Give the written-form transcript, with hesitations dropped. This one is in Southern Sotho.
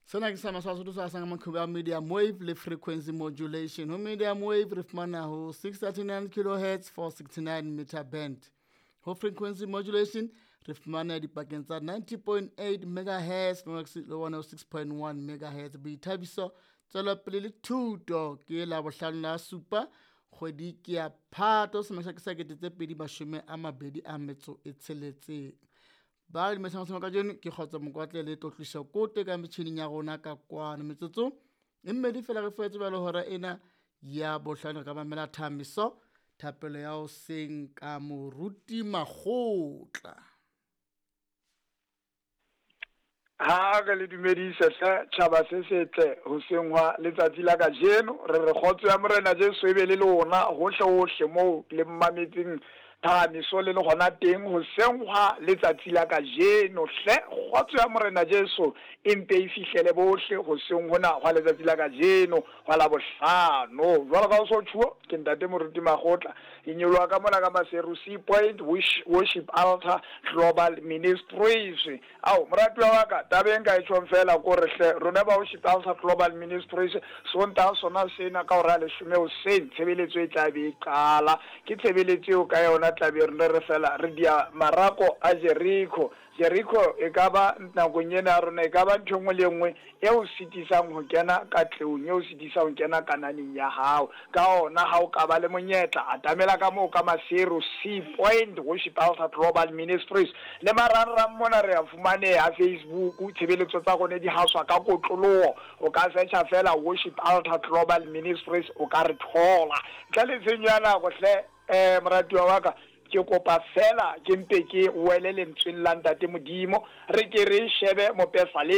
Sena ke sa Maswasotho sa sang maqhubu a medium wave le frequency modulation. Ho medium wave re fumana ho 639 kilohertz 469 meter band. Ho frequency modulation re fumana dipakeng tsa 90.8 megahertz le 106.1 megahertz. Boithabiso, tswelopele le thuto ke Labohlano la supa kgwedi ke ya Phato selemo sa 2026. Ba re dumedisang kajeno ke Kgotso Mokwatle le Tlotliso Kote ka metjhining ya rona ka kwano. Metsotso e mmedi fela re fuetse jwale hora ena ya bohlano re ka mamela thamiso thapelo ya hoseng ka Moruti Makgotla. Ha re le dumedise hle tjhaba se setle hoseng hwa letsatsi la kajeno. Re re kgotso ya Morena Jesu e be le lona hohle hohle moo le mmametseng phahamiso le le gona teng hoseng hwa letsatsi la kajeno. Hle kgotso ya Morena Jesu e mpe e fihlele bohle hoseng hona hwa letsatsi la kajeno hwa Labohlano. Jwalo ka ho so tjhuo, ke Ntate Moruti Makgotla. Ke nyoloha ka mona ka Maseru Sea Point Worship Altar Global Ministries. Ao, moratuwa wa ka, taba e nka e tjhong feela ke hore hle, rona ba Worship Altar Global Ministries, Sontaha sona sena ka hora ya leshome hoseng, tshebeletso e tla be e qala. Ke tshebeletso eo ka yona tla be re re feela re dia marako a Jeriko. Jeriko e ka ba, nakong ena ya rona, e ka ba ntho e nngwe le e nngwe e o sitisang ho kena katlehong, e o sitisang ho kena kananeng ya hao. Ka hona, ha o ka ba le monyetla, atamela ka moo ka Maseru, Sea Point, Worship Altar Global Ministries. Le marangrang mona re a fumaneha, Facebook, tshebeletso tsa rona di haswa ka kotloloho. O ka searcha feela Worship Altar Global Ministries, o ka re thola. Ntle le tshenyo ya nako hle, moratuwa wa ka, ke kopa feela ke mpe ke wele lentsweng la Ntate Modimo, re ke re shebe mopesaleme.